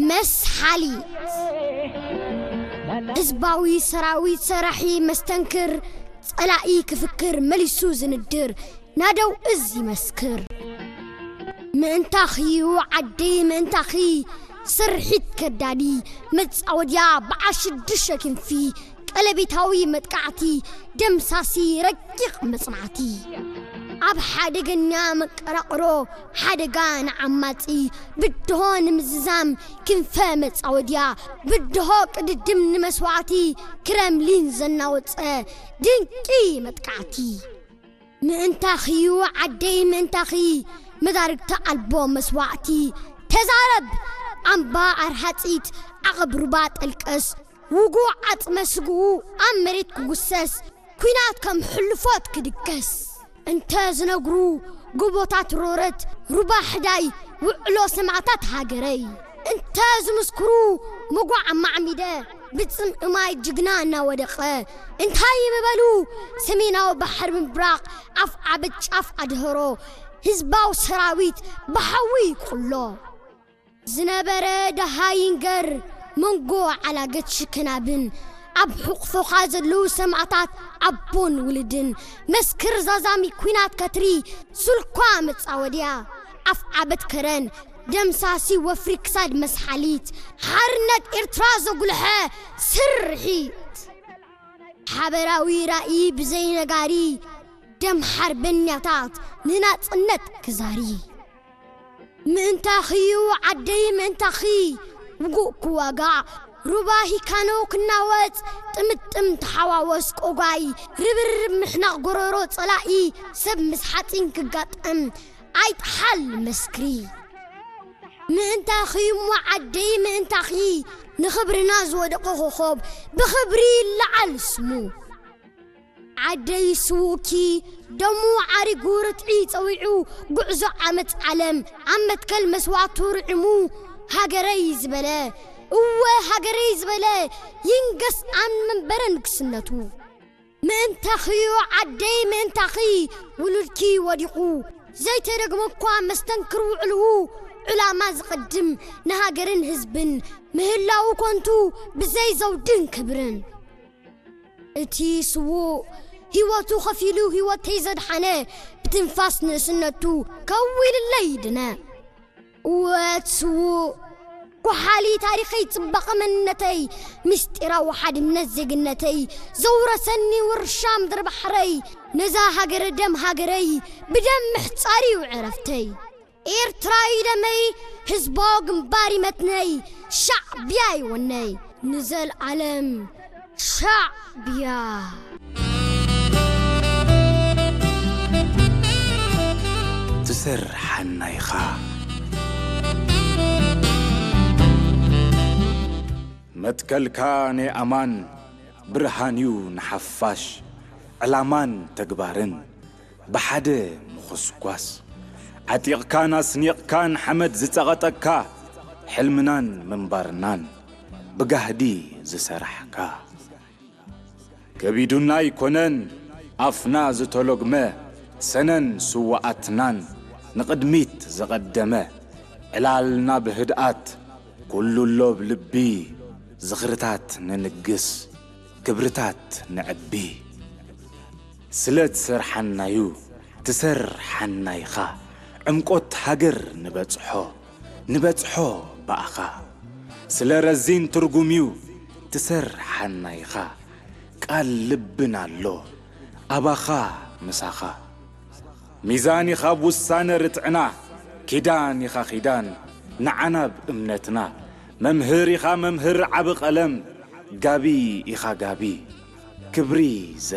መስሓሊት። ህዝባዊ ሰራዊት ሰራሒ መስተንክር፣ ጸላኢ ክፍክር መሊሱ ዝንድር፣ ናደው እዝ ይመስክር። ምእንታኺ ዓደይ ምእንታኺ፣ ስርሒት ከዳዲ፣ መጻወድያ በዓል ሽዱሽተ ክንፊ፣ ቀለቤታዊ መጥቃዕቲ፣ ደምሳሲ ረቂቕ መጽናዕቲ። ኣብ ሓደገኛ መቀራቕሮ፣ ሓደጋ ንዓማጺ፣ ብድሆ ንምዝዛም፣ ክንፈ መጻወድያ፣ ብድሆ ቅድድም ንመስዋዕቲ፣ ክረምሊን ዘናወጸ ድንቂ መጥቃዕቲ። ምእንታኺዩ ዓደይ ምእንታኺ፣ መዳርግቲ ኣልቦ መስዋዕቲ። ተዛረብ ኣምባ ኣርሃጺት፣ ዓቐብ ሩባ ጠልቀስ፣ ውጉእ ዓጽመ ስግኡ ኣብ መሬት ክጉሰስ፣ ኲናት ከም ሕልፎት ክድገስ። እንተ ዝነግሩ ጎቦታት ሮረት፣ ሩባ ሕዳይ፣ ውዕሎ ሰማዕታት ሃገረይ። እንተ ዝምስክሩ ምጓዕ ኣማዕሚደ፣ ብጽምኢ ማይ ጅግና እናወደቐ። እንታይ ምበሉ ሰሜናዊ ባሕሪ ምብራቕ፣ ኣፍ ዓበት ጫፍ ኣድህሮ፣ ህዝባዊ ሰራዊት ብሓዊ ይቁሎ። ዝነበረ ደሃ ይንገር መንጎ ዓላገት ሽከናብን፣ ኣብ ሕቑፎኻ ዘለዉ ሰማእታት ኣቦን ውልድን፣ መስክር ዛዛሚ ኲናት ከትሪ፣ ሱልኳ መጻወድያ፣ ኣፍ ዓበት ከረን፣ ደምሳሲ ወፍሪ ክሳድ መስሓሊት፣ ሓርነት ኤርትራ ዘጉልሐ ስርሒት። ሓበራዊ ራእይ ብዘይነጋሪ፣ ደም ሓርበኛታት ንናጽነት ክዛሪ። ምእንታኺዩ ዓደይ ምእንታኺ፣ ውጉእ ክዋጋዕ፣ ሩባ ሂካኖ ክናወጽ፣ ጥምጥም ተሓዋወስ ቆጓይ፣ ርብርብ ምሕናቕ ጎረሮ ጸላኢ፣ ሰብ ምስ ሓጺን ክጋጠም፣ ኣይጥሓል መስክሪ። ምእንታኺ እሞ ዓደይ ምእንታኺ፣ ንኽብርና ዝወደቐ ኮኾብ፣ ብኽብሪ ይለዓል ስሙ። ዓደይ ስዉእኪ፣ ደሙ ዓሪጉ ርትዒ ጸዊዑ፣ ጉዕዞ ዓመት ዓለም፣ ኣብ መትከል መስዋዕቱ ርዒሙ፣ ሃገረይ ዝበለ፣ እወ ሃገረይ ዝበለ፣ ይንገስ ኣብ መንበረ ንግስነቱ። ምእንታኺዮ ዓደይ ምእንታኺ፣ ውሉድኪ ወዲቑ፣ ዘይተደግመ እኳ መስተንክር ውዕልኡ፣ ዕላማ ዝቐድም ንሃገርን ህዝብን፣ ምህላዉ ኮንቱ ብዘይ ዘውድን ክብርን። እቲ ስዉእ ህይወቱ ኸፊሉ ህይወተይ ዘድሓነ፣ ብትንፋስ ንእስነቱ ከዊልለይ ድነ። እወ እቲ ስዉእ፣ ጓሓሊ ታሪኸይ፣ ጽባቐ መንነተይ፣ ምስጢራዊ ሓድነት ዜግነተይ፣ ዘውረሰኒ ውርሻ ምድሪ ባሕረይ፣ ነዛ ሃገረ ደም ሃገረይ፣ ብደም ምሕጻር እዩ ዕረፍተይ። ኤርትራዊ ደመይ፣ ህዝባዊ ግንባር ይመትነይ፣ ሻዕብያ ይወነይ። ንዘልኣለም ሻዕብያ። ትሰርሓና ኢኻ። መትከልካ ናይ ኣማን ብርሃን'ዩ ንሓፋሽ፣ ዕላማን ተግባርን ብሓደ ምኹስኳስ። ዓጢቕካን ኣስኒቕካን ሓመድ ዝጸቐጠካ፣ ሕልምናን ምንባርናን ብጋህዲ ዝሰራሕካ። ከቢዱና ኣይኮነን ኣፍና ዝተሎግመ፣ ሰነን ስዉኣትናን ንቕድሚት ዝቐደመ፣ ዕላልና ብህድኣት ኩሉ ኣሎ ብ ልቢ፣ ዝኽርታት ንንግስ፣ ክብርታት ነዕቢ። ስለ ትሰርሓና'ዩ ትሰርሓና ኢኻ፣ ዕምቆት ሃገር ንበጽሖ፣ ንበጽሖ ብኣኻ። ስለ ረዚን ትርጉም'ዩ ትሰርሓና ኢኻ፣ ቃል ልብና ኣሎ ኣባኻ ምሳኻ። ሚዛን ኢኻ ብ ውሳነ ርትዕና፣ ኪዳን ኢኻ ኺዳን ንዓና ብ እምነትና። መምህር ኢኻ መምህር ዓቢ ቀለም፣ ጋቢ ኢኻ ጋቢ፣ ክብሪ ዘ-